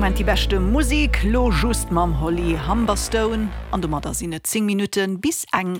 Moment déi beschte Musik, lo just mam Holly Humberstone. An domadder sinn et 10 Minutte bis eng.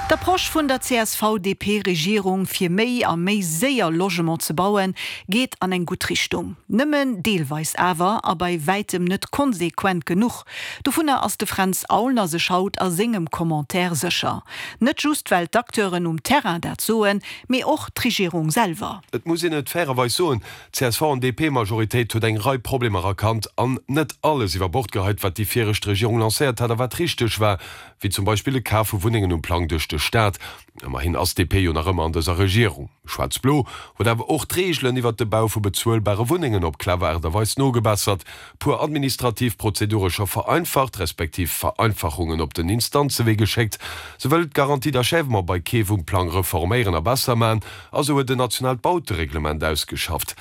D'Approche vun der CSV-DP-Regierung, fir méi a méi séier Logement ze bauen, geet an eng gutt Richtung. Nëmmen deelweis awer a bei wäitem net konsequent genuch. Dovunner ass de Fränz Aulner sech haut a sengem Commentaire sécher. Net just well d'Acteuren um Terrain dat soen, mee och d'Regierung selwer. Et muss een et fairerweis soen, D'CSV an DP-Majoritéit huet eng Rei Problemer erkannt an net alles iwwer Bord geheit, wat déi viregt Regierung lancéiert hat a wat richteg war, wéi zum Beispill de Kaf vu Wunnengen um Plang duerch de Staat. Ëmmerhin ass DP jo nach ëmmer an dëser Regierung. Schwaarz-Blo huet awer och d'Reegelen iwwert de Bau vu bezuelbare Wunnengen op clever Aart a Weis nogebessert, puer administrativ Prozedure scho vereinfacht, respektiv Vereinfachungen op den Instanzewee geschéckt. Se wëll d'Garantie d'achèvement bei Keef um Plang reforméieren a besser man a se huet en nationaalt Bautereglement ausgeschafft.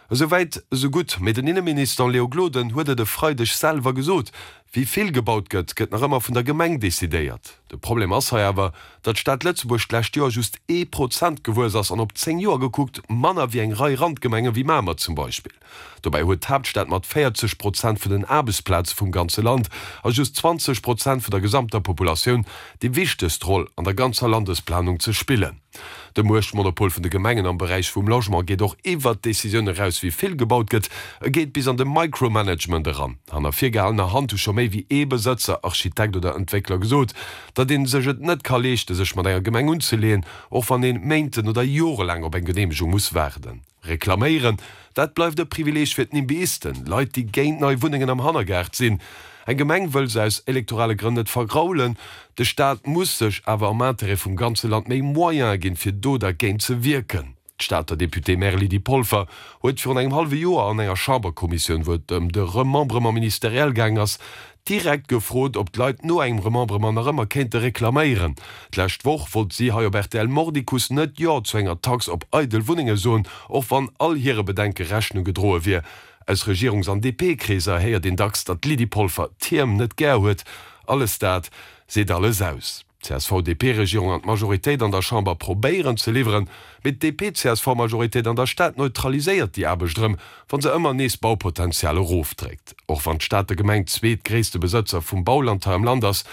Esou wäit, esou gutt. Mee den Inneminister Léo Gloden huet et e Freideg selwer gesot, Wéi vill gebaut gëtt, gëtt nach ëmmer vun der Gemeng decidéiert. De Problem ass hei awer, datt d'Stad Lëtzebuerg d'lescht Joer just ee Prozent gewuess ass an op 10 Joer gekuckt manner wéi eng Rei Randgemenge wéi Mamer zum Beispill. Dobäi huet d'Haaptstad mat 40 Prozent vun den Aarbechtsplaze vum ganze Land a just 20 Prozent vun der gesamter Populatioun déi wichtegst Roll an der ganzer Landesplanung ze spillen. De Muechtmonopol vun de Gemengen am Beräich vum Logement geet och iwwert d'Decisioun eraus, wéi vill gebaut gëtt. E geet bis an de Micromanagement eran. Hanner virgehalener Hand hu scho méi wéi ee Besëtzer, Architekt oder Entwéckler gesot, datt ee sech et net ka leeschte sech mat enger Gemeng unzeleeën, och wann ee méinten oder jorelaang op eng Geneemegung muss waarden. Reklaméieren, dat bleift e Privileeg fir d'Nimbyisten, Leit déi géint nei Wunnengen am Hannergaart sinn. Eng Gemeng wëll se aus elektorale Grënn net vergraulen. De Staat muss sech awer am Interêt vum ganze Land méi Moyene ginn, fir do dergéint ze wierken. D'Stater Députée-maire Lydie Polfer huet virun engem hallwe Joer an enger Chamberkommissioun, wou et ëm de Remembrement ministériel gaang ass, direkt gefrot, ob d'Leit no engem Remembrement nach ëmmer kéinte reklaméieren. D'lescht Woch wollt si hei op rtl mordicus net Jo zu enger Tax op eidel Wunnenge soen, och wann all hire Bedenke Rechnung gedroe wier. Aus Regierungs an DP-Kreeser héiert een dacks, datt d'Lydie Polfer d'Tierm net gär huet. Alles dat seet alles aus. D'CSV-DP-Regierung an d'Majoritéit an der Chamber probéieren ze liwweren, mee d'DP-CSV-Majoritéit an der Stad neutraliséiert déi Aarbecht erëm, wa se ëmmer nees Baupotenzial erofdréckt. Och wann d'Stater Gemeng zweetgréisste Besëtzer vum Bauland hei am Land ass,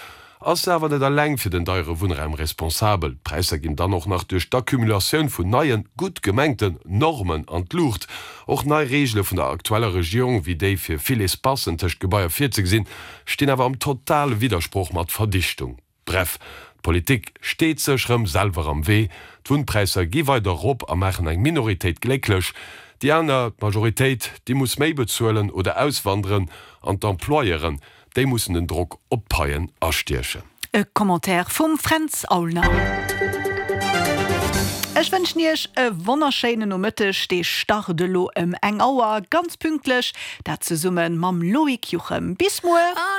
ass se awer net eleng fir den deiere Wunnraum responsabel. D'Präisser ginn dann och nach duerch d'Accumulatioun vun neien, gutt gemengten Normen an d'Luucht. Och nei Reegele vun der aktueller Regierung, wéi déi fir vill Espacen tëscht Gebaier virzegesinn, stinn awer am totale Widdersproch mat Verdichtung. Bref, d'Politik steet sech rëm selwer am Wee, d'Wunnpräisser gi weider erop a maachen eng Minoritéit glécklech, déi aner, d'Majoritéit, déi muss méi bezuelen oder auswanderen an d'Employeuren, déi mussen den Drock op d'Paien astiechen. E Commentaire vum Fränz Aulner. Ech wënschen Iech e wonnerschéinen Nomëtteg, dee start elo ëm eng Auer, ganz pünktlech, dat zesumme mam Loïc Juchem. Bis muer!